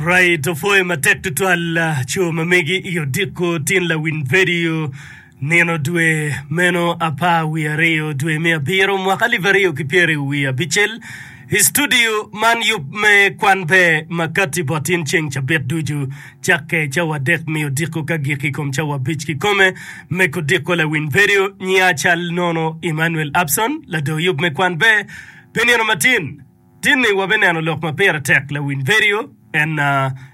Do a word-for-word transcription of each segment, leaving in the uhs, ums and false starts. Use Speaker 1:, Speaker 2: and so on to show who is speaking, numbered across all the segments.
Speaker 1: Alright, opwoyo matek tutwal co ma megi i odiko tin lawiny vedio nino dwe meno apar wiye aryo dwe me abiro mwaka alip aryo ki pyeri wiye abicel i studio man yub me kwan ber ma kati bot in ceng cabit ducu cakke cawa adek me odiko ka gik i kom cawa abic kikome me kodiko lawiny vedio nyinga cal nono Emmanuel Abson lador yub me kwan ber pi nino matin. Tin-ni wabineno lok ma pire tek lawiny vedio en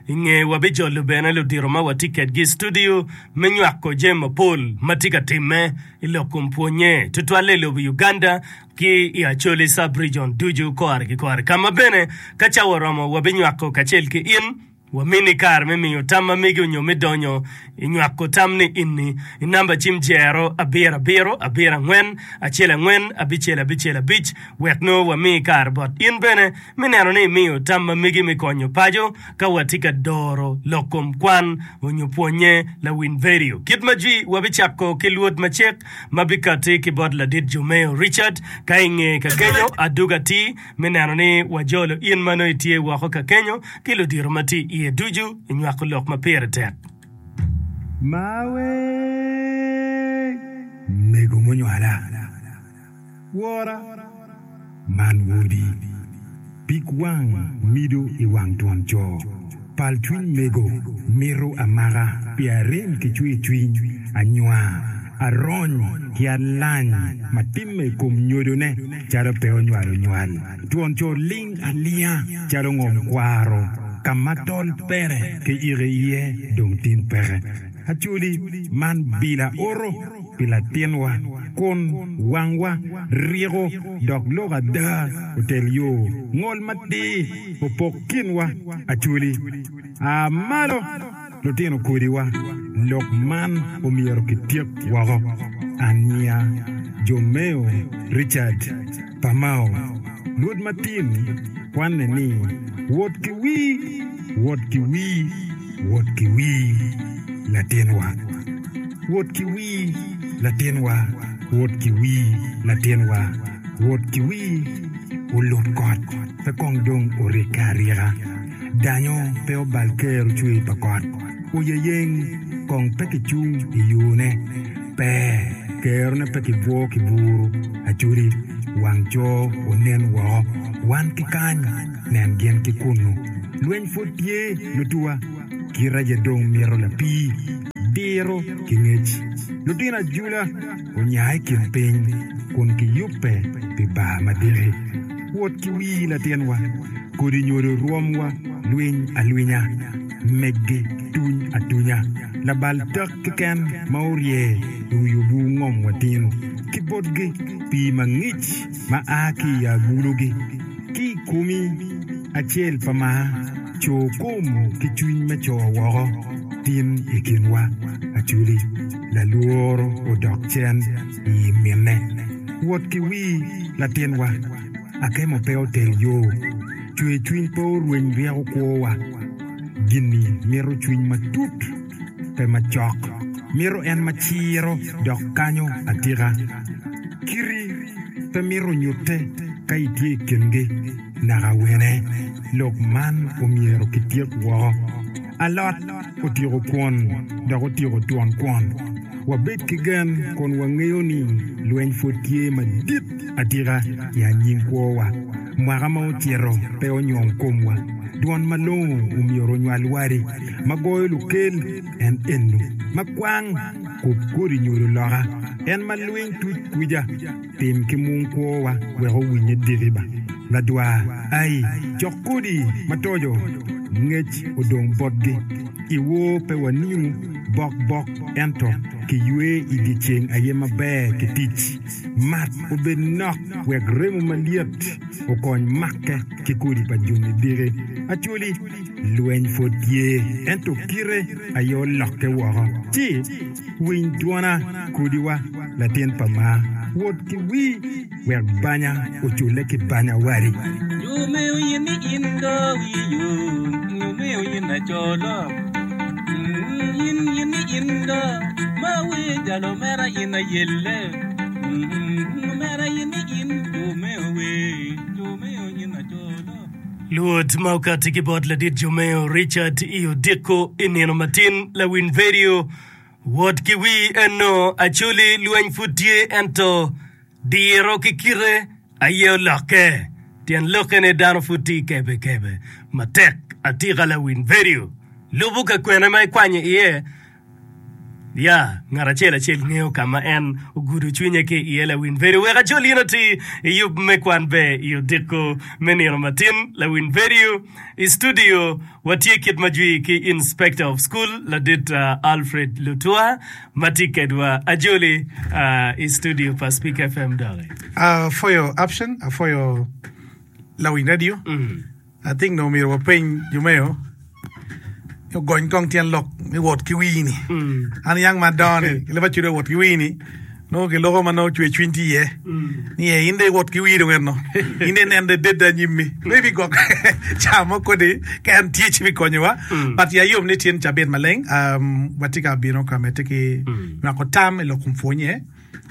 Speaker 1: i nge wabijolo bene ludito ma watye kedgi i studio me nywako jami mapol ma tye ka timme i lok kom pwonye tutwalle i lobo Uganda ki i Acholi Sub-Region ducu kore ki kore ka ma bene ka cawa oromo wabinywako kacel ki in. Wamini kare me miyo tam ma megi onyo me donyo i nywako tam ni inni i namba cim jero abiro abiro abiro angwen acel angwen abicel abicel abic wek nongo wami kare bot in bene me neno ni imiyo tam ma megi me konyo paco ka watye ka doro lok kom kwan onyo pwonye lawiny vedio. Kit ma jwi wabicako ki lwod macek ma bikati ki bot ladit Jomeo Richard ka inge ka kenyo aduga atir me neno ni wajolo in ma nongo itye woko ka kenyo ki ludito ma tye iye ducu i nywako lok ma pire tek.
Speaker 2: Mawe mego munywala, wora, man wodi, pig wang mido i wang twon co, pal cwiny mego mito amaka pi arem ki cwercwiny, anywar, arony ki alany ma timme i kom nyodone calo pe onywalo nywal. Twon co ling alinga calo ngom kwaro ka ma tol pere kiyiko iye dong tin peke. Acholi man bila oro pi latinwa kun wangwa ryeko dok lok ada otel yo ngol matir opok kinwa. Acholi a malo lutino kodiwa lok man omyero kityek woko. Ania Jomeo Richard Pamao lwod matin kwanne ni wot ki wii, wot ki wii, wot ki wii latinwa, wot ki wii latinwa, wot ki wii latinwa, wot ki wii olut kot pe kong dong orikke arika, danyo pe obal kero cwer pa kot, oyeyeng kong pe kicung i yone, pe kerone pe kibwo ki buru, acoli wang co onen woko, wan ki kany nen gin ki kunnu. Lweny pwod tye lutuwa, kit aye dong mito lapii, diro ki ngec. Lutino ajula onya i kin piny kun giyubbe pi bar madiki. Wot ki wii latinwa, kodi nyodo rwomwa lwiny alwinya, meggi tuny atunya. Labal tok keken ma orye i wi obur ngom watin ki botgi pii mangic ma a ki i agulugi. Ki i komi acel pa mar, co kom ki cwiny me co woko tin i kinwa. Acholi lalworo odok cen i minne. Wot ki wii latinwa, akemo pe otel yo, cwer cwiny pe orweny ryeko kwowa. Gin-ni mito cwiny matut, pe macok. Mito en ma ciro dok kanyo atika. Kiti pe mito nyutte ka itye i kingi naka wene. Lok man omyero kityek woko. Alot otyeko kwon dok otyeko twon kwon. Wabed ki gen kun wangeyo ni lweny pwod tye madit atika i anyim kwowa. Mwaka ma ocito pe onyong komwa. Dwon malongo omyero onywal wadi ma goyo lukel en eno ma kwang kub kodi nyodo loka en ma lwiny tuc kwija tim ki mung kwowa wek owinye diki ba ladwar ai cok kodi ma tojo ngec odong botgi i wor pe waninu bok bok ento ki ywe i dye ceng aye maber ki tic mat obed nok wek remo malyet okony makke ki kodi pa joni diki. Acholi, lweny pwod tye, ento kite aye olokke woko. Ci, winy dwona, kodiwa, latin pa maa, wot ki wii, wek banya oculle ki banya wadi.
Speaker 3: Nyo me oyin ni in do wi yo, nyo me oyin acolo. In yin ni in do ma wer jalo mera in ayelle. Mera yin ni in jo me ower, jo me oyin acolo.
Speaker 1: Luot ma okati ki bot ladit Jomeo Richard i odiko i nino matin lawiny vedio wot ki wi eno Acholi lweny pud tye ento diro ki kite aye olokke tyen lokke ni dano pud tye kebe kebe matek atika lawiny vedio lubo ka kwene ma ikwanyo iye Ya, ngat acel acel ngeyo ka ma en ogudo cwinye ki iye lawiny vedio. Wek acol in oti i yub me kwan ber i odiko me nino matin. Lawiny vedio i studio watye kit ma jwi ki Inspector of School ladit Alfred Lutua ma tye kedwa. Ajoli i studio pa Speak F M doki.
Speaker 4: Apwoyo Abson, apwoyo lawiny radio. I think nongo myero wapeny jo meo ni ogony kong tyen lok me wot ki wii-ni. An yang ma adongo-ni, ki leb acuda wot ki wii-ni, nongo kiloko ma nongo cwer cwiny tye iye. Ni ee, in dong iwot ki wii dong eno, in dong inen dong idedde anyimmi. Maybe gwok ca mo kodi ka en tye ci bikonyowa. But ya yom ni tyen cabit maleng, um, watye ka bino ka medde ki nywako tam i lok kom pwonye.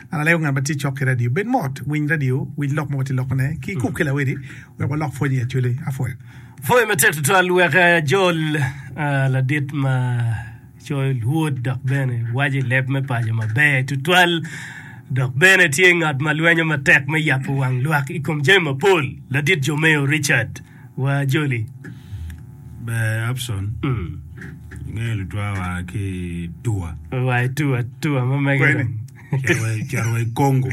Speaker 4: An alego ngat ma tye cok ki radio, bed mot, winy radio, winj lok ma watye lokone, ki ikub ki lawedi wek walok pwony i Acholi. Apwoyo.
Speaker 1: Pwoyo matek tutwal wek ajol ladit ma coyo lwod dok bene waco i leb me paco maber tutwal dok bene tye ngat ma lwenyo matek me yabo wang lwak i kom jami mapol, ladit Jomeo Richard. Wa joli.
Speaker 5: Ber Abson, ingeyo lutwa wa ki Tua.
Speaker 1: Wa i Tua, Tua ma mege dong.
Speaker 5: Cito wa i Congo.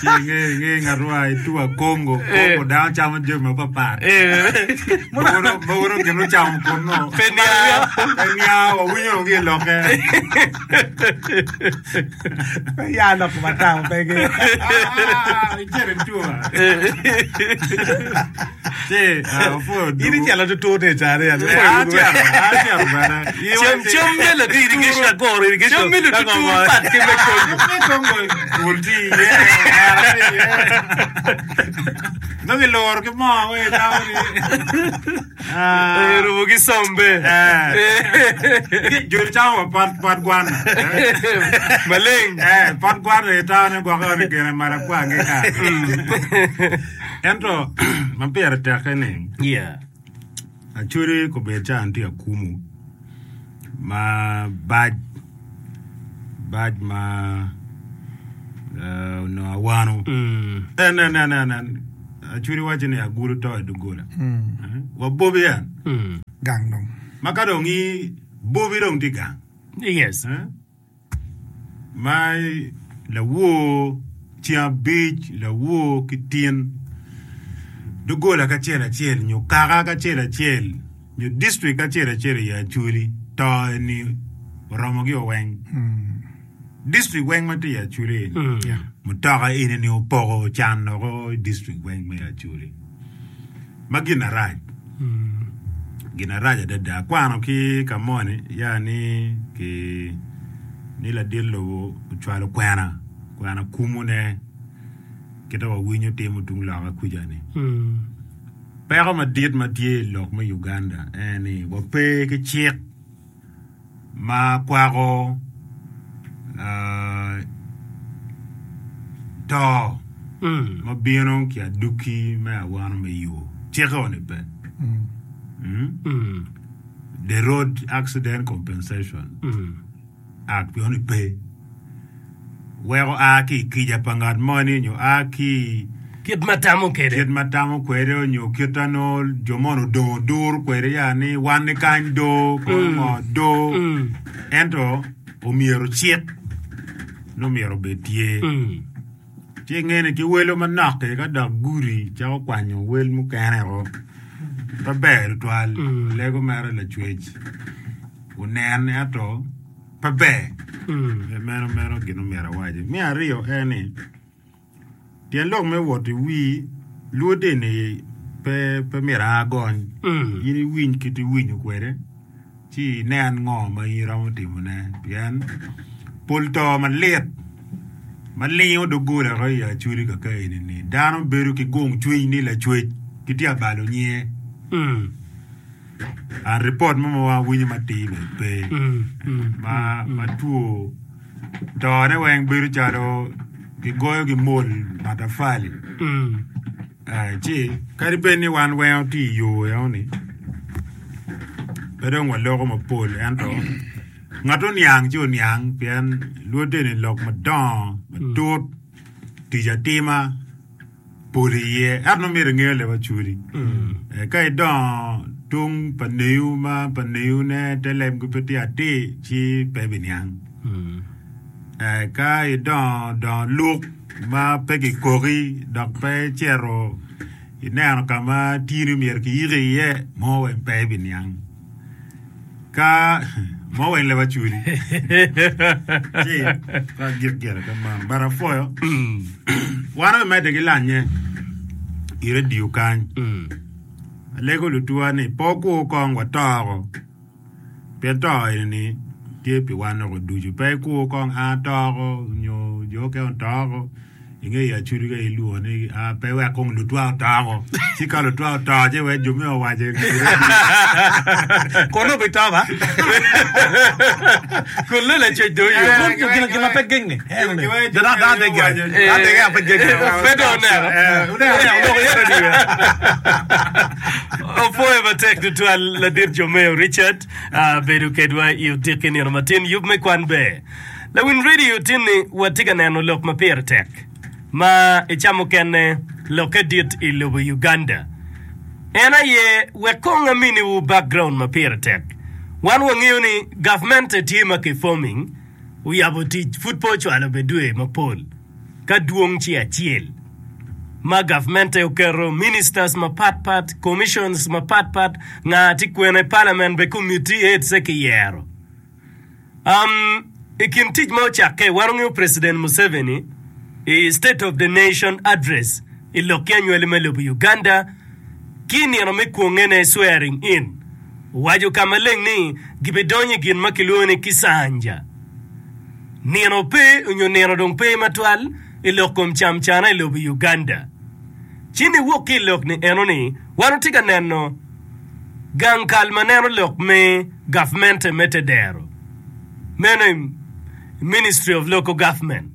Speaker 5: Ci inge inge ngat wa i Tua Congo, Congo dano camo jami mapapat. Mogo mogo gin ocamo kunnu.
Speaker 1: Pe niang.
Speaker 5: Pe niang, wawinyo ki i lokke.
Speaker 4: Pe ya lok ma tamo pe gi.
Speaker 5: Icito i Tua. Ci opwoyo
Speaker 4: In
Speaker 5: dugu.
Speaker 4: icelo tutur ni icare ya.
Speaker 5: Acito, acito bene.
Speaker 1: Cem cem me ladit cem me lututur pat ki me Congo.
Speaker 5: Me Congo bul tye iye, ongera tye iye. Nongo iluro ki moo weng itamo ni.
Speaker 1: Erumo ki sombe.
Speaker 5: Joni camo wa pot pot gwana.
Speaker 1: Maleng.
Speaker 5: Eh, pot gwana itamo ni gwokke ni gine marapwa nge ka. Ento ma pire tekke ni
Speaker 1: Yeah.
Speaker 5: Acholi kobedo ca tye akumu ma bac bac ma eh, onongo awano. En en en en en Acholi waco ni agulu to i doggola. Eh, Wa bobi en.
Speaker 4: Gang dong.
Speaker 5: Ma ka dong i bobi dong tye gang.
Speaker 1: Yes.
Speaker 5: Eh? Ma lawor ceng abic lawor ki tin doggola kacel acel nyo kaka kacel acel nyo district kacel acel i Acholi to eni oromogi weng. District weng ma tye i Acholi eni mutoka eni ni opoko can woko i district weng me Acholi ma gin arac gin arac adada akwano ki ka moni ya ni ki ni ladit lobo ocwalo kwena kwena kumune kite wawinyo timo tung loka kuca ni peko madit ma tye i lok me Uganda en ni wape ki cik ma kwako to ma bino ki aduki me awano me yo cikke ni pe The Road Accident Compensation Act ni pe weko a ki i kica pa ngat moni nyo a ki
Speaker 1: Kit ma tamo kwede.
Speaker 5: Kit ma tamo kwede nyo kit ma nongo jo moni odongo oduro kwede ya ni wan ni kany do kono ngo do ento omyero cik nongo myero obed tye ci inge ni ki welo manok ki ka dok gudi cako kwanyo wel mukene o pe ber tutwal lego mere lacwec onen ento pe ber meno meno gin omyero awaci. Me aryo en ni Tyen lok me wot i wii lwodde ni pe pe myero a gony. In iwiny kit iwinyo kwede ci inen ngo ma in iromo timone pien pol to malit ma lingo doggola woko i Acholi kaka eni ni dano bedo ki gung cwiny ni lacwec gitye ka balo nyinge. And ripot mo ma wawinyo matir bene pe ma ma two tone weng bedo calo Gigoyo gi mol matafali. Eh, ci kadi bed ni wan weng watye i yo eno-ni, pe dong waloko mapol ento ngat oniang ci oniang pien lwodde ni lok madongo matut tic atima pol iye ento nongo myero ingeyo leb acoli. Eh, ka idongo tung pa neyu ma pa neyune te lebgi pe tye atir ci pe biniang. Eh, ka idongo dongo luk ma pe kikoki dok pe icito ineno ka ma tini myero kiyiki iye mo weng pe ibiniang. Ka mo weng leb acoli ci ka gik gire ka mano but apwoyo wan wamedde ki lanye i radio kany alego lutuwa ni pe wukur kong watoko pien to eni tye pi wan woko ducu pe ikur kong a atoko nyo jo okene otoko inge i acudi ka ilwongo ni a pe wek kong lutwa otoko ci ka lutwa oto ci wek jo me owaco
Speaker 4: Kono obito ba.
Speaker 1: Kun nongo lacwec dong oyo.
Speaker 4: Kun gin gin ma pe geng ni. Dano dano dege gire. Dano dege pe genge.
Speaker 1: Pe dong oneno.
Speaker 4: Oneno oloko iye radio.
Speaker 1: Opwoyo matek tutwal ladit Jomeo Richard ah, bedo kedwa i odiki nino matin yub me kwan ber. Lawiny radio tin-ni watye ka neno lok ma pire tek ma i ca mukene lokke dit i lobo Uganda. En aye wek kong aminiwu background ma pire tek. Wan wangeyo ni gavmente tye ma ki forming oyabo tic pud pe ocwalo be dwe mapol ka dwong ci acel ma gavmente oketo ministers mapat pat, commissions mapat pat, nga tye kwene, parliament be committee heads se kiyero. Um, i kin tic ma ocakke, wan ongeyo President Museveni i State of the Nation Address i lok ki anywali me lobo Uganda ki i nino me kwongene, swearing in, owaco ka maleng ni gibidonyo i gin ma kilwongo ni kisanja. Nino pe onyo nino dong pe matwal i lok kom camcana i lobo Uganda. Ci niwok ki i lok ni eno ni wan watye ka neno gang kal ma neno lok me gavmente me tedero meno i Ministry of Local Government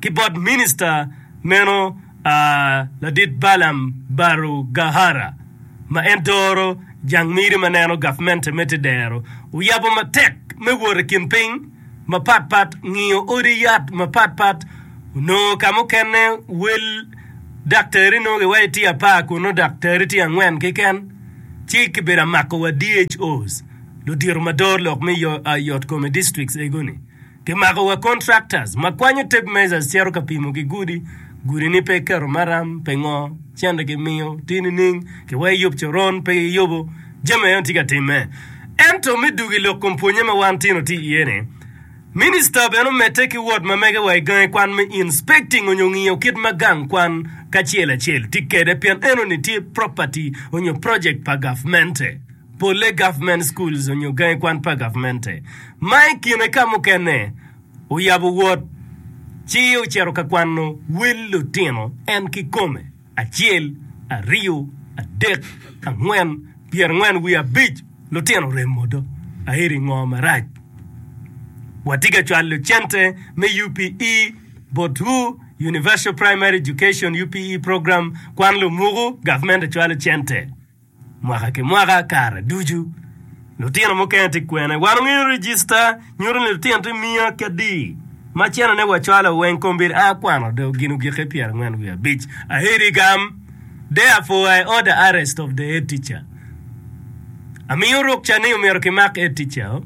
Speaker 1: ki bot Minista meno Ladit Balaam Barugahara ma en doro jang miri ma neno gavmente me tedero oyabo matek me wot i kin piny mapat pat ngiyo odi yat mapat pat onongo ka mukene wel daktari nongo giwaco tye apar kun nongo daktari tye angwen keken ci kibedo amako wa D H Os ludito ma doro lok me yot kom i districts ego-ni. Kimako wa contractors ma kwanyo tape measures cito ka pimo ki gudi, gudi ni pe keto maram pe ngo, cente kimiyo tye nining, kiweko yub coron pe giyubo, jami eno tye ka timme. Ento me dugo i lok kom pwonye ma wan tino tye iye ni, Minista bene omedde ki wot ma mege wa i gangi kwan me inspecting onyo ngiyo kit ma gang kwan kacel acel tye kede pien eno ni tye property onyo project pa gavmente. Polle government schools onyo gangi kwan pa gavmente ma i kine ka mukene oyabo wot ci ocito ka kwano wel lutino en kikome acel, aryo, adek, angwen, pyerangwen wiye abic lutino oremo do aeri ngo marac. Watye ka cwalo cente me U P E botwu, Universal Primary Education U P E program, kwan lumuku, gavmente cwalo cente mwaka ki mwaka kare ducu. Lutino mukene tye kwene. Wan ongeyo register nyuto ni lutino tye miya ki adi ma cene ne wacwalo weng kombeddi a kwano do gin ogike pyerangwen wiye abic. Aheri gam. Therefore I order arrest of the head teacher. Amiyo rukca ni omyero kimak head teacher.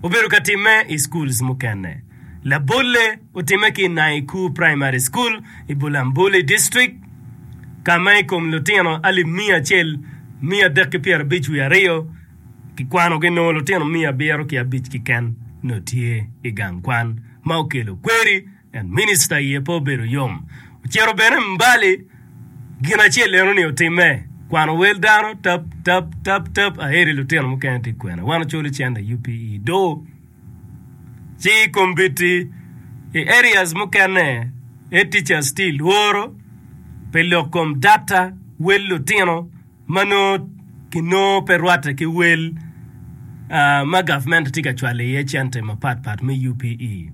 Speaker 1: Obedo ka timme i schools mukene. Labolle otimme ki i Naiku Primary School i Bulambuli District ka ma i kom lutino alip miya acel miya adek ki pyerabic wiye aryo kikwano ginongo lutino miya abiro ki abic keken nongo tye i gang kwan ma okelo kweri en minista iye pe obedo yom. Ocito bene Mbali gin acel eno ni otimme kwano wel dano tap tap tap tap aeri lutino mukene tye kwene wan ocolo cente U P E do ci kombeddi i areas mukene head teachers tye i lworo pi lok kom data wel lutino ma nongo kinongo pe rwatte ki wel ma gavment tye ka cwalo iye cente mapat pat me U P E.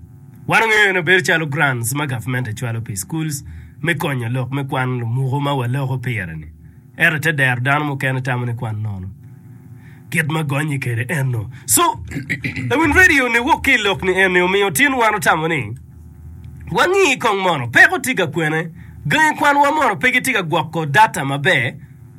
Speaker 1: Wan ongeyo ni obedo calo grants ma gavmente cwalo pi schools me konyo lok me kwan lumuku ma waloko pire ni. Ento ite dero dano mukene tamo ni kwan nono. Kit ma gonye kede eno. So, lawiny radio ni wok ki i lok ni eni omiyo tin wan otamo ni wangi kong mono peko tye ka kwene, gangi kwanwa mono pe gitye ka gwoko data maber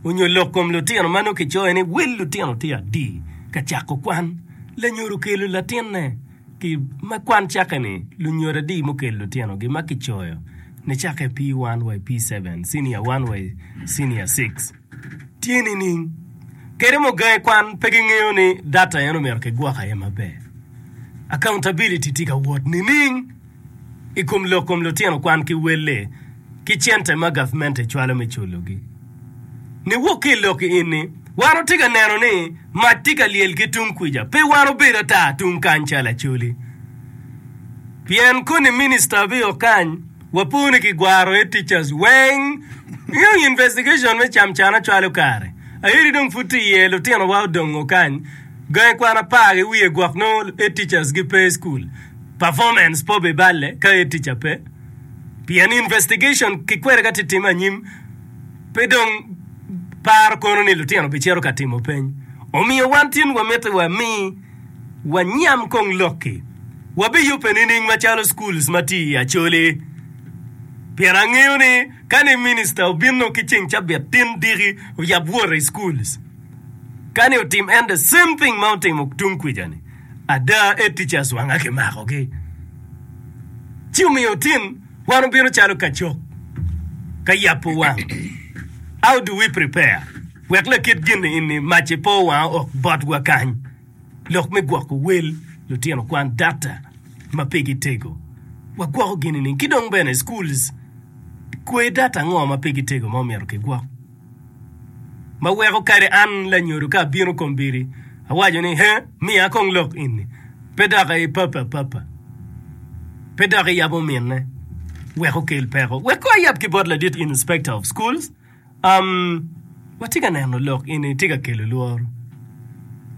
Speaker 1: onyo lok kom lutino ma nongo kicoyo ni wel lutino tye adi ka cako kwan. Lanyodo okelo latinne ki ma kwan cakke ni lunyodo adi mukelo lutinogi ma kicoyo nicakke P one wa i P seven, senior one wa i senior six. Tye nining? Kadi mo gangi kwan pe gingeyo ni data en omyero kigwok aye maber. Accountability tye ka wot nining i kom lok kom lutino kwan ki welle ki cente ma gavmente cwalo me culogi? Niwok ki i lok eni, wan watye ka neno ni mac tye ka lyel ki tung kwica, pe wan obedo ata tung kany calo Acholi. Pien koni minista bio kany, wapo ni kigwaro aye teachers weng. Ingeyo investigation me camcana cwalo kare. Ayeri dong pud tye iye, lutinowa odongo kany, gangi kwan apar ki wiye gwok nongo head teachers gi pe i school. Performance pe obiballe ka head teacher pe. Pien investigation ki kwede ka tye time anyim, pe dong paro kono ni lutino bicito ka timo peny. Omiyo wan tin wamiti wami wanyam kong lok-ki. Wabiyubbe nining macalo schools ma tye i Acholi? Pien angeyo ni ka ni minista obino ki ceng cabit tin diki oyab wot i schools, ka ni otim en the same thing ma otimo tung kwica-ni, ada head teachers wanga kimakogi. Ci omiyo tin wan obino calo kacok ka yabo wang. How do we prepare wek lakit gin-ni ini mac-ci pe owang ok botwa kany? Lok me gwoko wel lutino kwan data ma pigi tego. Wagwoko gin nining? Ki dong bene schools kwe data ango ma pigi tego ma omyero kigwok? Ma weko kadi an lanyodo ka abino kombiri awaco ni he miya kong lok eni pe dok ipape apapa pe dok iyabo minne wek okel peko. Wek ko ayab ki bot ladit inspector of schools. Um, watye ka neno lok eni tye ka kelo lworo.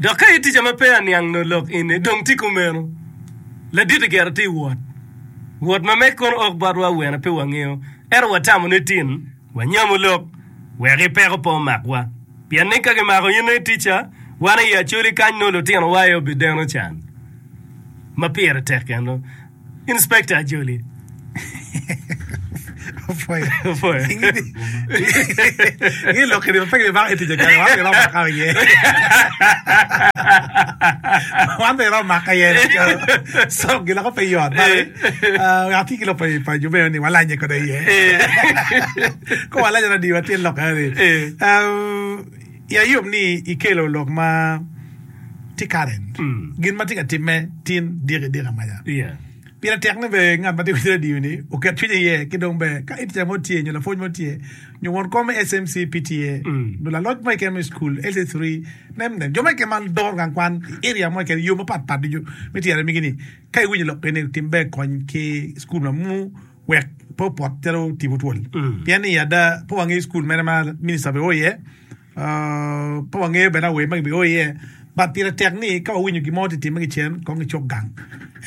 Speaker 1: Dok ka itica ma pe aniang nongo lok eni dong tye kumeno. Ladit gire tye i wot. Wot ma meg kono ok botwa awene pe wangeyo. Ento watamo ni tin wanyamo lok wek i peko pe omakwa. Pien ni ka gimako in itica, wan i Acholi kany nongo lutinowa aye obideno can. Ma pire tek eno. Inspector Ajoli.
Speaker 4: Opwoyo.
Speaker 1: Opwoyo.
Speaker 4: Ngi lok kede pe gibako i tic kare wan bene maka iye. Wan bene maka iye. So giloko pe yot. Bale atye ki lok pa pa jo meno ni walanye kode iye. Ko walanye na diwa tye lok eni. Ya yom ni ikelo lok ma tye current. Gin ma tye ka timme tin diki diki amaca.
Speaker 1: Yeah.
Speaker 4: Pire tek ni bene ngat ma tye ki radio ni oket cwinye iye ki dong bene ka tica mo tye nyo lapwony mo tye nyo won kom me S M C P T A nyo laloc mo keken me cukul L C three nem nem jo mo keken ma doro gang kwan i area mo keken i yo mapat pat ducu me tyene migi ni ka iwinyo lok eni tim ber kony ki cukul ma mu wek pe opot calo tipo twol pien ni ada pe wangeyo cukul mene ma minista bene o iye. Pe wangeyo bene awer ma gibio iye, but pire tek ni ka wawinyo gin mo tye timme ki cen, kong icuk gang.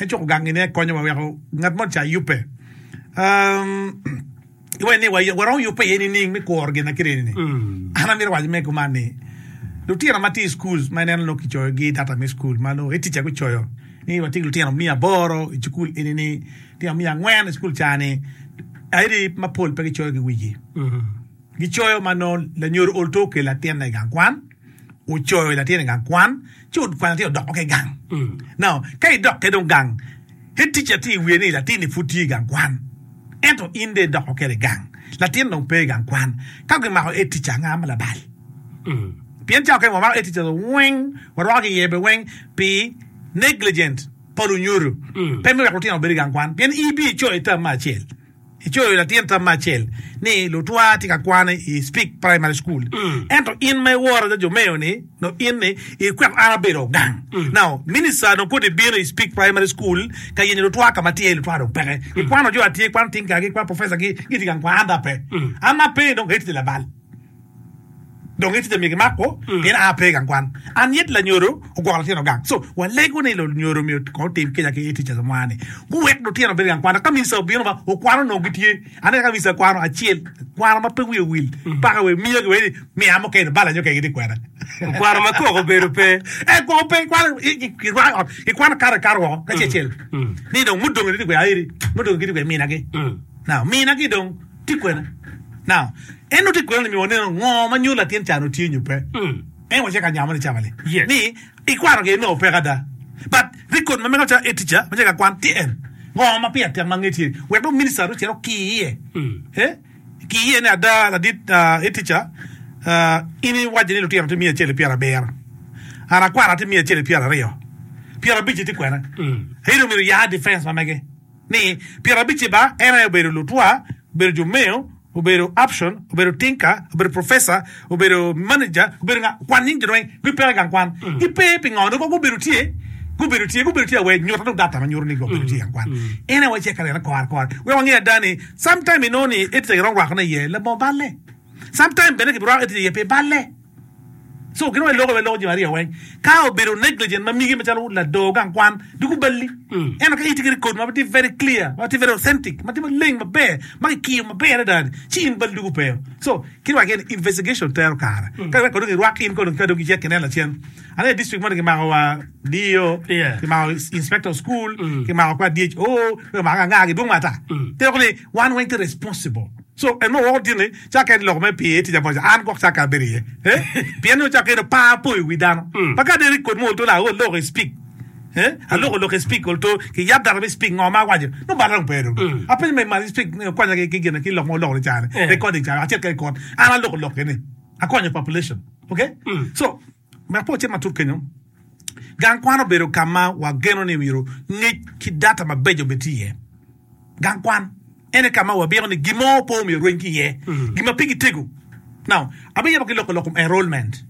Speaker 4: En cuko gang-ngi ne konyowa weko ngat moni ca yubbe. Iwaco ni waromo yubbe iye nining me kuro gin ma kit eni-ni? An amito waco mere kuman ni, lutino ma tye i cukul ma ineno nongo kicoyogi data me cukul ma nongo ticca gucoyo ni watye ki lutino miya aboro i cukul eni-ni, lutino miya angwen i cukul ca-ni, aye mapol pe gicoyo ki wigi. Gicoyo ma nongo lanyodo ol to okelo latinne i gang kwan, ocoyo latin i gang kwan, ci okwanyo latin odoko ki i gang. Now, ka idok kwede dong gang, head teacher tye i wiye ni latin-ni pud tye i gang kwan, ento in dong idoko kwede i gang, latin dong pe i gang kwan. Ka gimako head teacher, anga ma labal? Pien cawa kene wamako head teacher weng, warwako ki iye bene weng pi negligent pa lunyodo, pe me weko lutino obed i gang kwan, pien in ibiyo icoyo i term me acel. Icoyo latin tam me acel ni lutwa tye ka kwan i Speke Primary School, ento in ma iworo jo Jomeo ni no in ni ikweko an abedo gang. Now minister dong kodi bino i Speke Primary School ka yenyo lutwa ka ma tye lutwa dong peke. Gikwano jo atye, kwano tinka gi, kwano professor gi, gitye gang kwan, an dong ape. An ma ape dong eti labal. Dong itye myero gimako pien a pe i gang kwan. An yet lanyodo ogwoko litino gang. So walego ni lunyodo myero kong otim kica ki teachers mwa ni guwek lutino obed i gang kwan. Ka minista obino ba okwano onongo gitye. Aneno ka minista kwano acel kwano ma pe wiye owil paka we miyo gi we ni miya mukene bala nyo kene gitye kwena.
Speaker 1: Kwano ma koko obedo pe.
Speaker 4: Eh koko pe kwano kirwako i ot kikwano kato ikato woko kacel acel ni dong mudong gitye kwena eri mudong gitye kwena minagi. Now minagi dong tye kwena. Now, en nongo tye kwena ni myero waneno ngo ma nyuto latin ca nongo tye nyo pe. En wacito ka nyamo ni cawa-ni
Speaker 1: Yes.
Speaker 4: ni ikwano gire nongo peke ada. But record ma mega calo teacher ma tye ka kwan tye en. Ngo ma pire tek ma nge tye wek dong minister dong ocit oki iye. Eh? Ki iye ni ada ladit uh, teacher uh, in iwaco ni lutino tye miya acel ki pyerabiro. An akwano tye miya acel ki pyeraryo. Pyerabic-ci tye kwena. Ento myero oya defense ma mege. Ni pyerabic-ci ba en aye obedo lutwa, obedo jo meo, obedo option, obedo tinka, obedo professor, obedo manager, obedo nga, kwan nying jo weng, gipeke i gang kwan. Gipe pingo? Dong gubedo tye, gubedo tye, gubedo tye awe, nyuta dong data ma nyuto ni gubedo tye i gang kwan. En aye wacek ka nene kore kore. Wek wange ada ni, sometime inongo ni etye giromo rwakone iye labongo balle. Sometime bene gibirwako etye iye pi balle. So gin wai loko wai loko jami aryo weng. Ka obedo negligent ma migi macalo lador gang kwan doko balli. Ento ka itye ki record ma tye very clear, ma tye very authentic, ma tye maleng maber, ma kikiyo maber adada ni, ci in balli doko pe. So kit wa ni investigation tero kare. Ka wek dong irwak in kono ka dong icek kinen lacen. Aneno i district moni kimako wa D E O, kimako inspector of school, kimako kwa D H O, kimako anga gidwong ma ata. Te loko ni wan weng tye responsible. So en mo woko tye ni cakke ni lok me pii tic amoja an gwok cakke abedo iye eh pien ni cakke ni par po i wi dano pa ka deri kod mo olto la aloko i speak eh aloko lok i speak olto ki yab data me speak ngo ma awaco nongo bada dong pe dong apenyo me malo i speak konya ki gine ki lok ma oloko ni cani recording cani acit ka i kot an aloko lok eni akonyo population okay so wek pe ocit matut kenyo gang kwan obedo ka ma wageno ni myero ngec ki data mabeco obed tye iye. Gang kwan en aye ka ma wabiko ni gin mo pe omyero orweny ki iye, gin ma pigi tego. Now, abiyabo ki loko lok kom enrollment.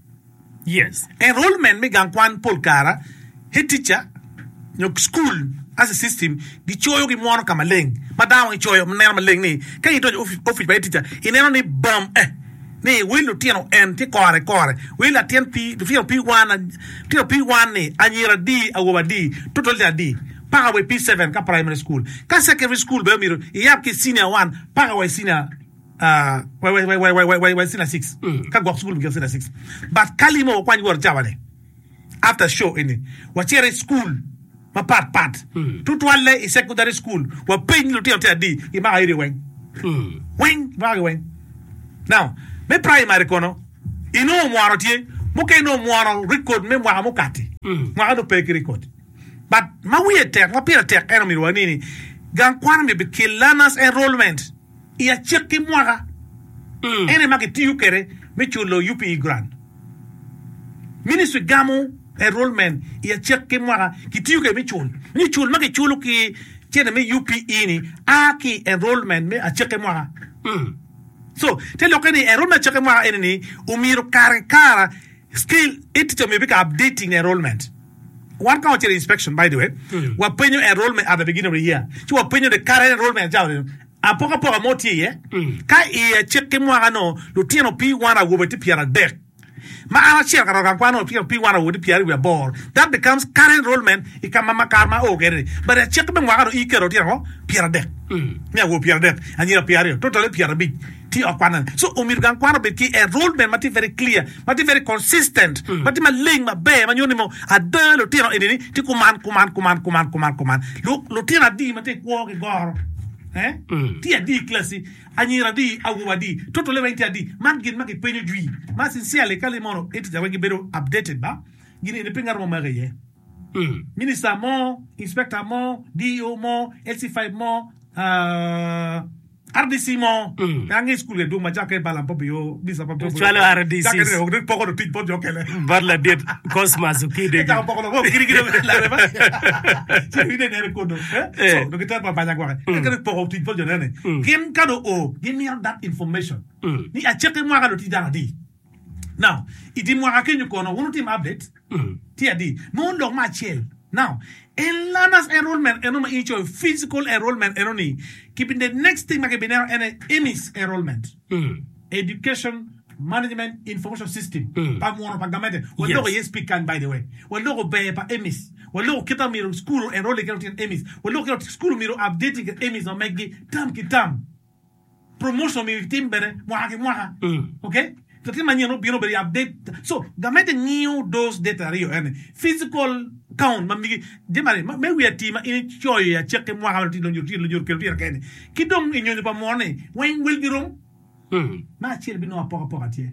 Speaker 1: Yes.
Speaker 4: Enrollment me gang kwan pol kara head teacher nyo school as a system gicoyo gimwono ka maleng ma dano gicoyo neno maleng ni ka in idonyo i ofice pa head teacher ineno ni bam eh ni wel lutino en tye kore kore wel latin pi lutino pi one lutino pi one ni anyira adi awobe adi total tye adi paka wa i P seven ka primary school ka secondary school bene myero iyab ki senior one paka wa i senior wa i senior six ka gwok school bigiko senior six but ka limo wakwany wot cawa ni after show eni wacito i school mapat pat tutwalle i secondary school wapeny lutino tye adi gimako area weng weng gimako gi weng now me primary kono inongo omwono tye mukene nongo omwono record me mwaka mukati mwaka nongo pe ki record. But ma wiye tek, ma pire tek en omyero wani ni gang kwan omyero bikel learners enrollment i acakki mwaka. En aye ma kitiyo kwede me culo U P E grant. Ministry gamo enrollment i acakki mwaka kitiyo kwede me cul. Ni cul ma kiculo ki cente me U P E ni a ki i enrollment me acakki mwaka. So te lokke ni enrollment acakki mwaka eni ni omyero kare ki kare scale teacher omyero bed ka updating enrollment. Wan ka wacito i inspection by the way, wapenyo enrollment at the beginning of the year, ci wapenyo the current enrollment cawa ni apokapoka mo tye iye. Ka i acikki mwaka no lutino P one awobe tye pyeradek, ma an acito ka roto gang kwan no lutino P one awobe tye pyeraryo wiye aboro, that becomes current enrollment i ka ma kare ma ao kwede ni. But i acikki me mwaka no iketo lutino ango? Pyeradek. Me awobe pyeradek, anyira pyeraryo, totally pyerabic. Tye i ot kwan eni. So omyero gang kwan obed ki enrollment ma tye very clear, ma tye very consistent, ma tye maleng maber ma nyuto ni mo ada lutino eni ni tye kuman, kuman, kuman, kuman, kuman, kuman. Lu, lutino adi ma tye kwo ki goro? Eh? Tye adi i klasi? Anyira adi? Awobe adi? Totally weng tye adi? Man gin ma kipenyo jwi. Ma sincerely ka limono eti weng gibedo updated ba, gin eni pe ngat mo mako iye. Minister mo, inspector mo, D E O mo, L C five mo, uh, R D C mo pe ange school ge dwong ma cakke bala po biyo bisa pa
Speaker 1: Cwalo R D Cs.
Speaker 4: Cakke ne poko do tic bot jo kele.
Speaker 1: Bot ladit Cosmas Okide.
Speaker 4: Cako poko do kiri kiri lare ba. Ci ide nere kodo. So do giter pa banya gwake. Ka kene poko tic bot jo nene. Gin ka do o gimito that information. Ni aceke mwaka do tic dano adi. Now i mwaka kenyo kono wun wutim update tye adi nongo lok me acel now en learners enrollment eno ma in icoyo physical enrollment eno ni ki the next thing ma kibineno en aye EMIS enrollment education Management Information System pa mwono pa gamente. Waloko iye speak kany by the way. Waloko ber pa EMIS. Waloko kit ma myero school o enroll ki lutino EMIS. Waloko kit ma school myero updating ki EMIS ma meggi term ki term. Promotion myero kitim bene mwaka ki mwaka. Okay? Latin manyen obino obedo i update. So gamente ngiyo those data aryo eni. Physical count ma migi jami aryo me wi ati ma in icoyo i acakki mwaka ma lutino lunyodo lutino kelo lutino kene ki dong i nyonyo pa mwono ni weng welgi rom. Me acel binongo apokapoka tye.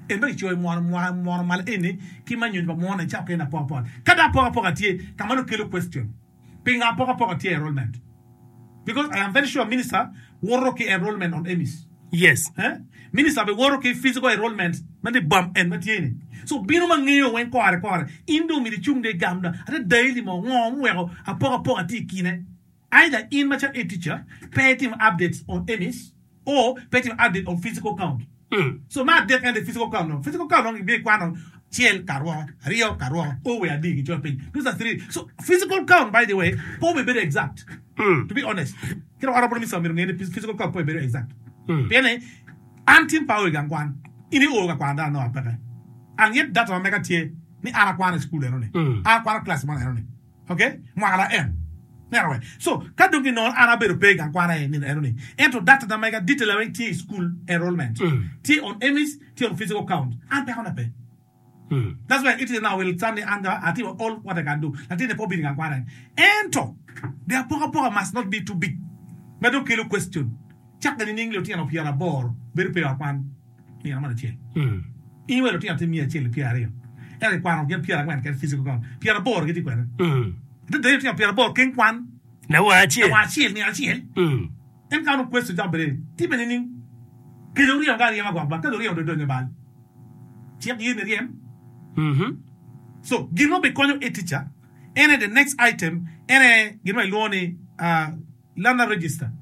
Speaker 4: En ma kicoyo mwono mwaka mwono malo eni ki ma nyonyo pa mwono ni cako kene apokapoka. Ka dong apokapoka tye ka ma nongo kelo question. Pingo apokapoka tye i enrollment? Because I am very sure minister woto ki enrollment on EMIS.
Speaker 1: Yes.
Speaker 4: Eh? Minister be woto ki physical enrollment ma ni bam en ma tye ni. So bino ma ngeyo weng kore kore. In dong myero icung dong igam dong. Ate daily mo ngo muweko apokapoka tye i kine. Either in macalo a teacher pe itimo updates on EMIS or pe itimo update on physical count. So me adek en the physical count no. Physical count dong ibino ikwano acel kar woko, aryo kar woko, o we adi kicoyo piny. Those are three. So physical count by the way pe obedo exact. To be honest. Kit ma honorable minister myero onge ni physical count pe obedo exact. Pien ni an tin pe ao i gang kwan, in io ka kwano dano nongo apeke. And yet data ma mega tye ni an akwano i school eno ni, an akwano class moni eno ni. Ok, mwaka la en. Neno we. So, ka dong ginongo an abedo pe i gang kwan aye nino eno ni. Ento data na mega detail weng tye i school enrollment. Tye on EMIS, tye on physical count. An peko na pe. That's why it is now will stand ni an atimo all what I can do. Latinne pe obino i gang kwan aye. Ento, the apokapoka must not be too big. Ma dong kelo question. Cakke nining lutino pyeraboro bedo pe i ot kwan nino mo acel? In iweko lutino tye miya acel ki pyeraryo, ento ikwano gin pyerangwen keken physical count, pyeraboro gitye kwene. Adada lutino pyeraboro keng kwan
Speaker 1: Lawang acel.
Speaker 4: lawang acel nino acel. En ka onongo question cako bedo ni, timme nining? Kece oryemo ka aryema gwok ba, kece oryemo dong donyo i bal. Cik ye ni ryem. So gin ma obikonyo a teacher en aye the next item en aye gin ma ilwongo ni uh, learner register.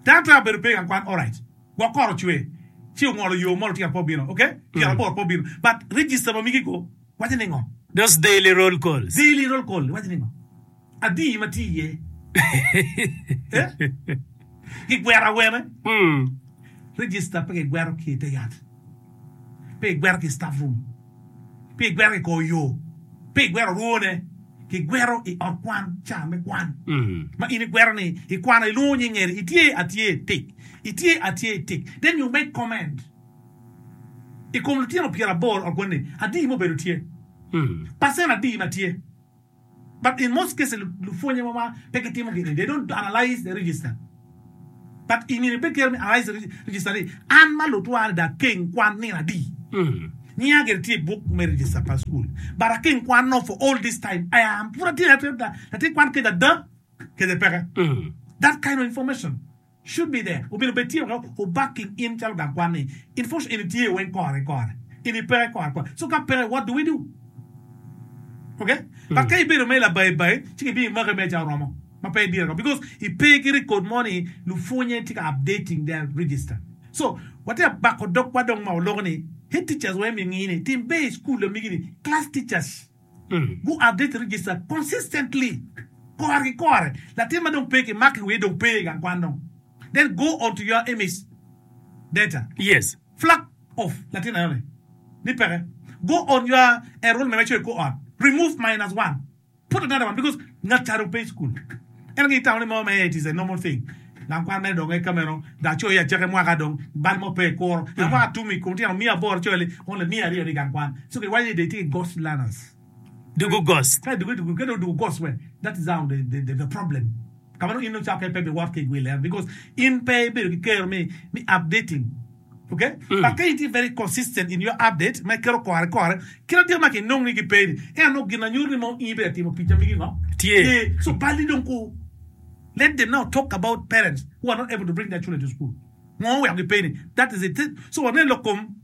Speaker 4: Dano twero bedo pe i gang kwan alright. Gwok kor ocwe ci ongolo yo mo lutino pe obino ok pyeraboro pe obino but register ma migi go waco ni ngo?
Speaker 1: Those daily roll calls.
Speaker 4: Daily roll call waco ni ngo? Adi ma tye iye? Eh? Gigwero awene? Register pe gigwero ki i te yat, pe gigwero ki i staff room, pe gigwero ki i kor yo, pe gigwero orwone. Kigwero i ot kwan ca me kwan ma in igwero ni ikwano ilwongo nying eni itye atye tik itye atye tik then you make comment i kom lutino pyeraboro ot kwan ni adi ma obedo tye percent adi ma tye but in most cases lupwonye wa pe gitimo gini they don't analyze the register But i myero ibed kero me analyze register ni an ma lutwa ni dong akeng kwan nino adi? Nyinga gire tye i buk me register pa school but akeng kwan no for all this time I am pud atye latin kwan kec ada kece peke. That kind of information should be there. Omyero obed tye wek o backing in calo gang kwan ni information eni tye weng kore kore eni peke kore kore so ka peke what do we do? Ok but ka ibedo mere labayi bayi ci ki bimaki mere ca oromo. Ma pe ibino because ipe ki record mo ni lupwonye tye ka updating their register. So watye ka bako dogwa dong ma waloko ni head teachers weng myero ngi ni tim ber i school amigi ni class teachers gu update register consistently kore ki kore latin ma dong pe ki mako i wiye dong pe i gang kwan dong then go on to your EMIS data.
Speaker 1: Yes.
Speaker 4: Flag off latin eno ni ni peke go on your enrollment ma icoyo i kor ot remove minus one. Put another one because ngat ca dong pe i cukul. En aye itamo ni mo me it is a normal thing. Gang kwan mere dong ka meno dong acoyo i acaki mwaka dong bal mo pe i kuro. Gang mwaka tum i kom tyeno miya aboro coyo li only miya aryo ni gang kwan. So kiwaco ni they tye ki ghost learners.
Speaker 1: Dugu ghost.
Speaker 4: Ka dugu dugu ka dong dugu ghost we that is how the the the problem. Ka ma dong in dong cako pe biwot ki i gwil en because in pe ibedo ki kero me me updating. Ok, but ka in tye very consistent in your update ma iketo kore kore, kit adita ma kinong ni gipe ni, ento nongo gin anyuto ni mo in ibedo ka timo tic ma migi ngo?
Speaker 1: Tye.
Speaker 4: So palli dong ku let them now talk about parents who are not able to bring their children to school. Ngo oweko gipe ni? That is it. So waneno lok kom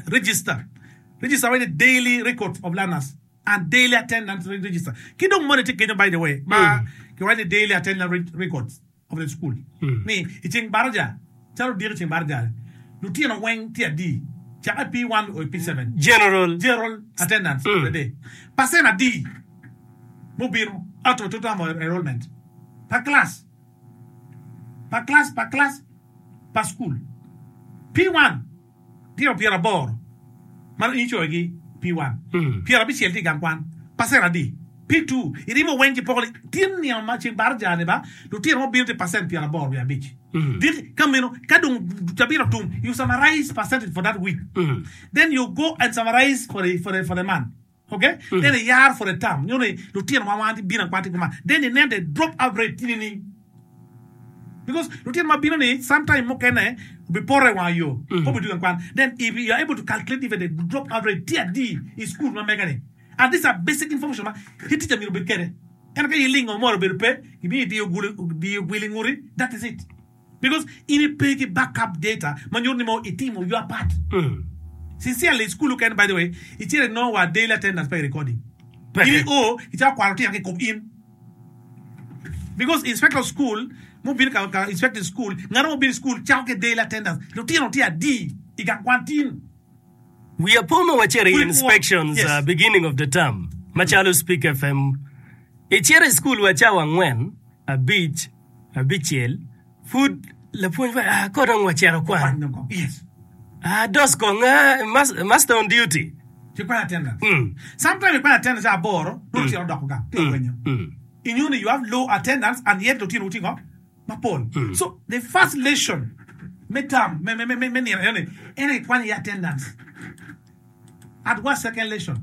Speaker 4: register. Register waco ni daily records of learners and daily attendance register. Ki dong moni tye kenyo by the way ma kiwaco ni daily attendance records. of the school ni i ceng baraja calo odiko i ceng baraja lutino weng tye adi cake i P one o i P seven
Speaker 1: General.
Speaker 4: general attendance of the day percent adi mubino out of total enrollment per class per class per class per school P one tino pyeraboro ma in icoyogi P one pyerabicel tye i gang kwan pacent adi P two irimo weng ci poko tin nino ma ceng baraja ni ba lutino mo bino tye pacent pyeraboro wiye abic diki ka meno ka dong cabit otum you summarize percentage for that week then you go and summarize for the, for the, for the month okay then iyar for the term nyo ni lutino ma wan bino akwan tye kuman then inen the drop out rate tye nining because lutino ma bino ni sometime mukene obipoto i wang yo pe obidugo i kwan then if you are able to calculate even the drop out rate tye adi i school ma mega ni and these are basic information ma ki teacher myero obed kwede ento ka ilingo moro obedo pe gimiyo idiyo gulu diyo gwil i nguti that is it because in ipe ki backup data ma nyuto ni mo itimo your part sincerely i school okene by the way icito inongo wa daily attendance pe i recording in i o icako kwano lutino ki i kom in because inspector of school mubino ka, ka inspecting school ngat mo obino i school cako ki daily attendance lutino tye adi i gang kwan tin
Speaker 1: Wiya po ma wacito i
Speaker 4: Pud ikwo.
Speaker 1: inspections
Speaker 4: Yes.
Speaker 1: uh, beginning of the term macalo Speak F M icito i school wa cawa angwen abic abicel pud lapwony waco ah ko dong wacito kwan
Speaker 4: Kwan dong kong. Yes.
Speaker 1: ah dos kong ah, mas, master on duty
Speaker 4: Ci kwan attendance.
Speaker 1: Mm.
Speaker 4: Sometimes ikwan attendance aboro, nongo lutino odoko gang, tye ka rwenyo.
Speaker 1: Mm.
Speaker 4: Inyo ni you have low attendance and yet lutino wutye ngo mapol. So the first lesson me term me me me me nino eno ni en aye ikwanyo iye attendance. At what second lesson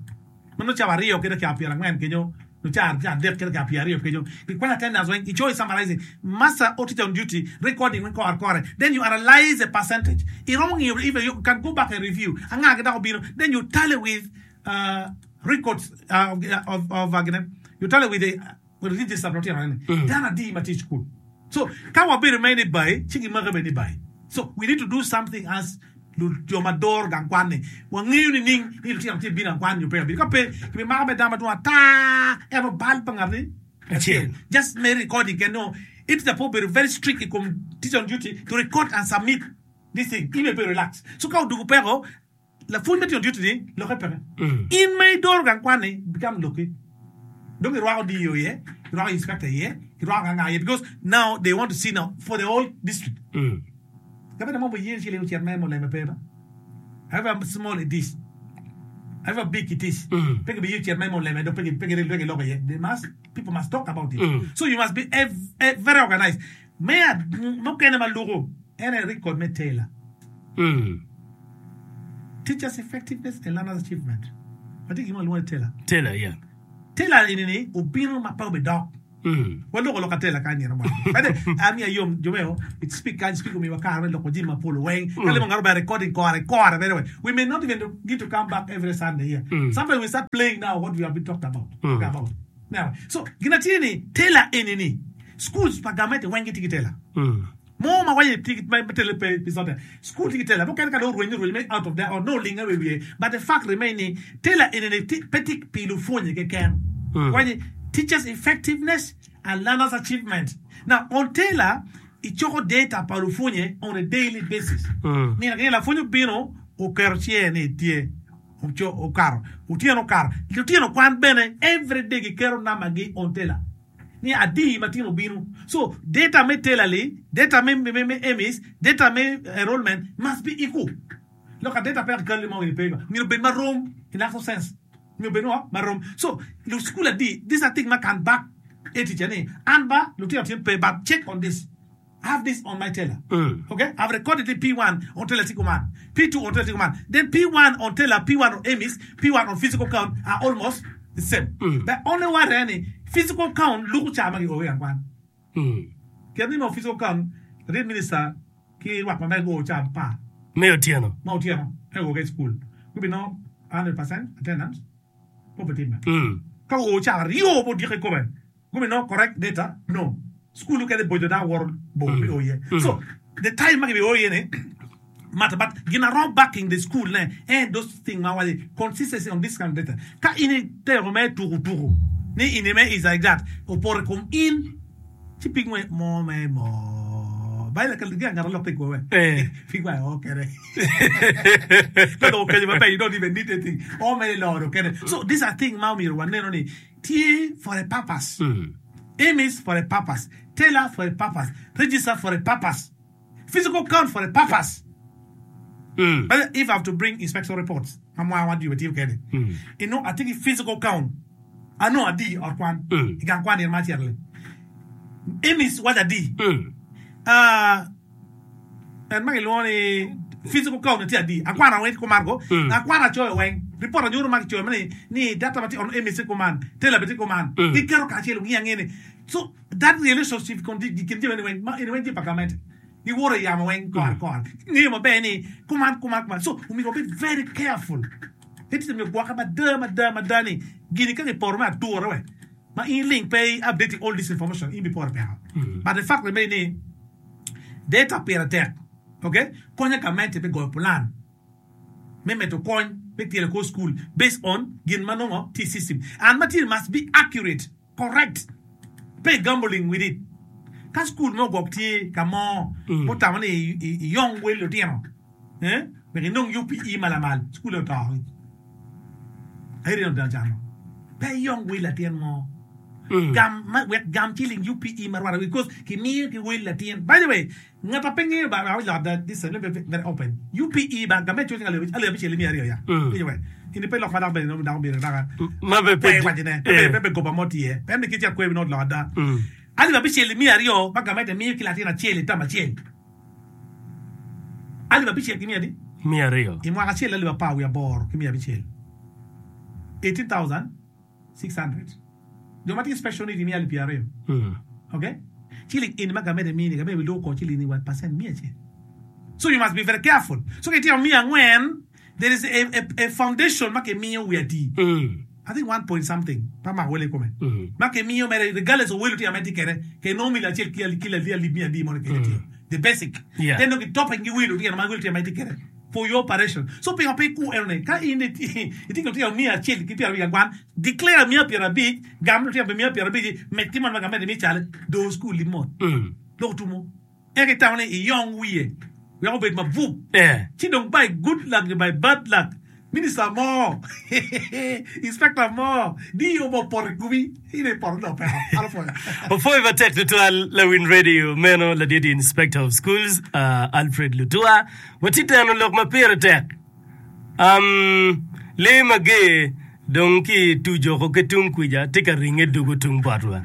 Speaker 4: ma nongo cawa aryo ki dakika pyerangwen kenyo nyo cawa adek ki dakika pyeraryo kenyo ikwanyo attendance weng icoyo summarizing master or teacher on duty recording weng kore kore then you analyze the percentage iromo ngiyo even you can go back and review anga ki dok obino then you tally with uh, records uh, of, of, of uh, gine, you tally with the with the register pa lutino eni dano adi ma tye i school so ka wabedo mere ni bai ci gimake bene ni bai so we need to do something as lu- jo ma doro gang kwan ni wangeyo ni ning ni lutino tye bino gang kwan nyo pe kabino ka pe kibimako me dano madwong ata ento bal pa ngat ni
Speaker 1: Acel.
Speaker 4: just me recording ken no it po bedo very strict i kom teacher on duty to record and submit this thing in be relax so ka odugo peko lapwony ma tye on duty ni loke peke in ma idoro gang kwan ni become loki dong irwako D O iye irwako inspector iye irwako nga iye because now they want to see now for the whole district
Speaker 1: Mm.
Speaker 4: gavana mo boyen ci ocit mere muleme pe ba however small it is however big it is
Speaker 1: Mm.
Speaker 4: pe gibiye ocit mere muleme dong pe gi- pe gi- pe giloko iye they must people must talk about it
Speaker 1: Mm.
Speaker 4: so you must be ev- eh, very organized me mukene ma luko en aye record me TELA
Speaker 1: Mm.
Speaker 4: teachers effectiveness and learners achievement watye gin ma walwongo ni TELA
Speaker 1: TELA, yeah.
Speaker 4: TELA eni ni obino ma pe obidok
Speaker 1: Mm.
Speaker 4: waloko lok atela kany nino mo bade ami ayom jomeo it speak kany speak omiwa kare me loko jami mapol weng ka limo ngato ba recording kore kore by the way we may not even get to come back every Sunday here
Speaker 1: Mm.
Speaker 4: sometimes we start playing now what we have been talked about
Speaker 1: Mm.
Speaker 4: about now so gina tye ni TELA eni ni schools pa gamente weng gitye ki TELA
Speaker 1: Mm.
Speaker 4: mo ma waye tye ma tele pe pe sote school tye ki TELA mukene ka dong orwenyo orwenyo me out of there or no linga we wiye but the fact remain ni TELA eni ni ti- pe tye pi lupwonye keken
Speaker 1: Mm.
Speaker 4: waye teachers effectiveness and learners achievement now on TELA icoko data pa lupwonye on a daily basis
Speaker 1: Mm.
Speaker 4: nino ki nino lapwony obino oketo cinge ni tye oco okato otyeno okato lutino kwan bene every day giketo namba gi on TELA ni adi ma tino obino so data me TELA li data me, me, me EMIS data me enrollment must be equal look at data pe kalli mo ni pe myero bed marom in actual sense myero bed no marom so lu school adi this are thing ma can back a teacher ni an ba lutino tin pe but check on this I have this on my TELA.
Speaker 1: Mm.
Speaker 4: Okay, I've recorded the P one on TELA Tikuman, P two on TELA Tikuman. Then P one on TELA, P one on EMIS, P one on physical count are almost the same.
Speaker 1: Mm.
Speaker 4: The only one any physical count look chama ki owe angwan.
Speaker 1: Mm.
Speaker 4: Kaya mo physical count, the minister ki wak ma go cham pa
Speaker 1: Me otieno.
Speaker 4: ma otieno e go ke school. We be no one hundred percent attendance. Po petima.
Speaker 1: Mm.
Speaker 4: Ka o cha rio bo dire come. Come no correct data? No. School ke de bojo da wor bo
Speaker 1: Mm.
Speaker 4: bi oye.
Speaker 1: Mm.
Speaker 4: So the time ma ki bi oye ne matter but gina wrong backing the school ne and those thing ma wale consistency on this kind of data. Ka ini te me turu turu. Ni ini me is like that. Opore kom in ci pig mo mo me mo. Bai la ka ga ngara lok te ko we.
Speaker 1: Eh.
Speaker 4: Pig wa o kere. No, no, okay, but you don't even need anything. Oh, my Lord, okay. So these are things ma myero waneno ni tye for a purpose.
Speaker 1: Mm.
Speaker 4: EMIS for a purpose. TELA for a purpose. Register for a purpose. Physical count for a purpose.
Speaker 1: Mm.
Speaker 4: But if I have to bring inspection reports, ma mwa wan tiyo kede.
Speaker 1: Mm.
Speaker 4: Inongo atye ki physical count. Anongo adi i ot kwan.
Speaker 1: Mm.
Speaker 4: I gang kwan nino ma acito-ni. EMIS waco adi.
Speaker 1: Mm.
Speaker 4: Ah, en ma kilwongo ni physical count tye adi. Akwano weng kuman ko.
Speaker 1: Mm.
Speaker 4: Akwano acoyo weng. Report anyuto ma kicoyo ni ni data ma tye on EMIS tye kuman, teller bene tye kuman.
Speaker 1: Mm.
Speaker 4: Giketo kacel ngiyo angiya ni. So that relationship kon di kin jami weng ma eni weng tye pa gamente. Giworo i yamo weng kore kore. Ngeyo maber ni kuman kuman kuman. So omyero wabed very careful. Eti myero gwokke mada mada mada ni gini ka giporo me ature we. Ma in link pe i updating all this information in biporo peko. But the fact remain ni data pire tek. Okay? Konyo gamente me goyo plan me medo kony me tyelo kor school based on gin ma nongo tye i system. And ma tye must be accurate, correct. Pe gambling with it. Ka school mo gwok tye ka mo mutamo ni i- i- iyong wel lutino eh? wek inong U P E malamal school oto ayeri odong cano pe iyong wel latin mo gam ma, wek gam ciling U P E marwara because kimiyo ki wel latin. By the way, ngat a pe ngeyo ba I will that this is very open. U P E ba game coco alip alip abicel miya aryo ya.
Speaker 1: Mm.
Speaker 4: Anyway, ini pe lok ma dok bene dok bene dok
Speaker 1: Ma be pe
Speaker 4: kwe wacine
Speaker 1: eh.
Speaker 4: pe pe goba mo tye pe mi kica kwe not lok ada.
Speaker 1: Mm.
Speaker 4: Alip abicel miya aryo ma gamente miyo ki latin acel i tam acel. Alip abicel ki miya adi?
Speaker 1: Miya aryo.
Speaker 4: I mwaka acel alip apar wiye aboro ki miya abicel. eighteen thousand six hundred. Jo ma tye special need miya alip piero aryo.
Speaker 1: Mm.
Speaker 4: Okay? Ciling eni ma gamente mini gamente biluko ko ciling ni wat percent miya acel. So you must be very careful. So ka itimo miya angwen, there is a, a, a foundation ma kimiyo wi adi.
Speaker 1: Mm.
Speaker 4: I think one point something. Pa mako wele kome.
Speaker 1: Mm.
Speaker 4: Ma kimiyo mere regardless of welo tye ame tye kede ke no million acel ki ali ki ali alip miya adi mono kede tiyo. The basic.
Speaker 1: Yeah.
Speaker 4: Then no topping gi welo tye ma welo tye ame tye kede for your operation. So pingo pe ku eno ne ka in iti iti tye miya acel ki piero abic angwan declare miya piero abic gam tye miya piero abic med ki mon ma gamente mi cale do school limot.
Speaker 1: Mm.
Speaker 4: Lok tumo. Eka itamo ni iyong wiye wek obed mabup.
Speaker 1: Eh.
Speaker 4: Ci dong by good luck by bad luck minister mo inspector mo D E O mo poto i kubi ine poto do peko ano pwoyo.
Speaker 1: Opwoyo matek tutwal Lawin Radio meno ladit Inspector of Schools uh, Alfred Lutua watye teno lok ma pire tek um, lee mager dong ki tujoko ki tung kwija tye ka ringe dugo tung botwa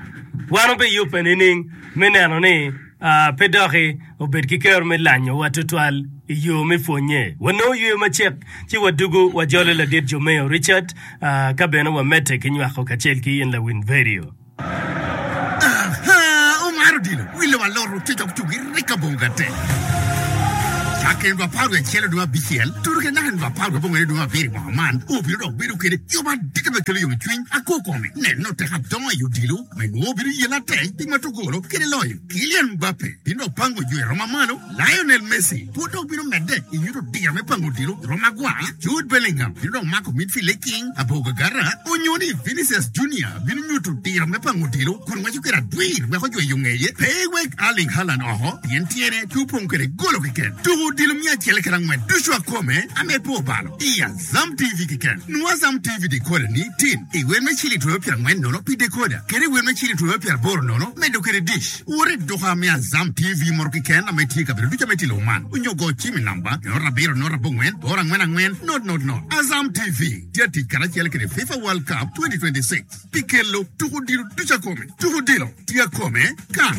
Speaker 1: wan obiyubbe nining me neno ni uh, pe doki obed ki kero me lanyowa tutwal i yo me pwonye wanongo yweyo macek ci wadugo wajolo ladit Jomeo Richard uh, ka bene wamedde ki nywako kacel ki in Lawin Radio.
Speaker 6: Aha, omaro dilo wilo waloro cocok cugi rika bonga te cakken dwa apar wiye acel dwe abicel tudo ke naka dwa apar wiye abongwen dwe abiro i mwaka man obino dok bedo kede yo madit me kelo yomcwiny ako kome neno tek adongo i odilo ma inwongo obino yelo atek pi matogolo kede loyo Kylian Mbappe bino dok pango jwe roma malo Lionel Messi pud dok bino medde i nyuto diro me pango odilo i roma agwar Jude Bellingham bino dok mako midfield e king abogagara onyo ni Vinicius Junior bino nyuto diro me pango odilo kun ngweco kede adwir weko jweyo ngeye pe wek Erling Haaland oko pien tyene tye opong kede golo keken tuko odilo miya acel kede angwen ducu akome ame pe obalo i Azam T V keken nwo Azam T V decoder ni tin i wer me ciling twenty piero angwen nono pi decoder kede i wer me ciling twenty piero aboro nono medo kede dish wore duka me Azam T V moro keken ame tye i kabedo ducu ame tye i lobo man onyo go cim i namba nought abiro nought abongwen boro angwen angwen nought nought nought Azam T V tye atic karacel kede FIFA World Cup twenty twenty-six pi kelo tuko odilo ducu akome tuko odilo tye akome kan.